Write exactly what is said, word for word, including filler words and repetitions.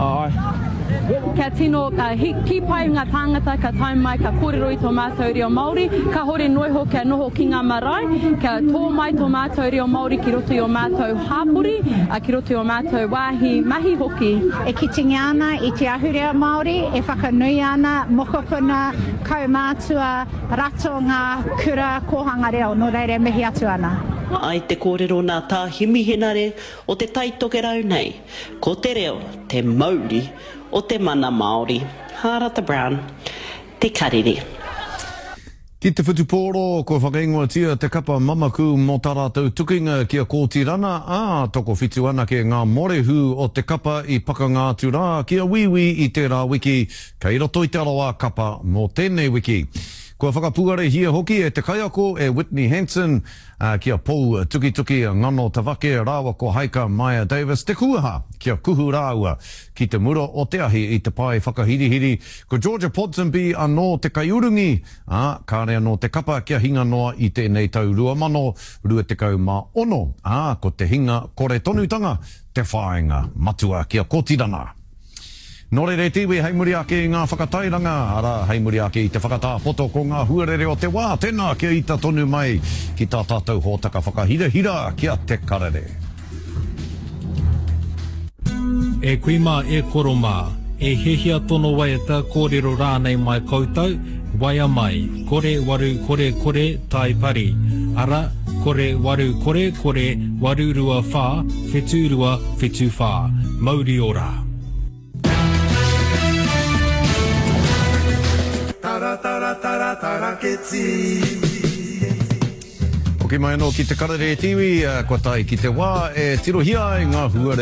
Āe. Kia tino kī pai ngā tāngata ka tae mai ka kōrero i tō mātou reo Māori, kāhore noa iho kia noho ki ngā marae, kia tō mai tō mātou reo Māori ki roto i ō mātou hāpori, ki roto i ō mātou wāhi mahi hoki. E kitingia ana i te ahurea Māori, e whakanuia ana mokopuna, kaumātua, ratonga, kura, kōhanga reo, nō reira e mihi atu ana. Ai te kōrero nā Tā Himi Henare o Te Tai Tokerau nei, ko te reo te mauri o te mana Māori. Hārata Brown, Te Karere. Ki te whutupōro, kua whakaingoatia te kapa mamaku mō tā rātou tukinga ki a Kōtirana, ā, tokowhitu anake ngā morehu o te kapa i pakanga atu rā ki a Wīwī i tērā wiki, kei roto i te arawa kapa mō tēnei wiki. Kua whakapuarehia hoki e te kaiako e Whitney Hansen ki a Pou Tukituki Ngano Tavake rāua ko Haika Maia Davis te kuaha kia kuhu rāua ki te mura o te ahi i te pae whakahirihiri. Ko Georgia Ponsonby anō te kaiurungi, ā, kāre anō te kapa kia hinga noa i tēnei tau rua mano rua tekau mā ono, ā, ko te hinga kore tonutanga te whāinga matua ki a Kotirana. Nō reira e te iwi, hei muri ake i ngā whakatairanga, arā, hei muri ake i te whakatā poto ko ngā huarere o te wā, tēnā kia ita tonu mai ki tā tātou hōtaka whakahirahira ki a Te Karere. E kui mā, e koro mā, e hiahia tono waiata, kōrero rānei mai koutou, waea mai, kore waru kore kore tai pari, ara, kore waru kore kore waru rua whā, whetū rua, whetū whā. Mauri ora! Hoki mai anō ki Te Karere e te iwi, kua tae ki te wā e tirohia ai ngā huarere.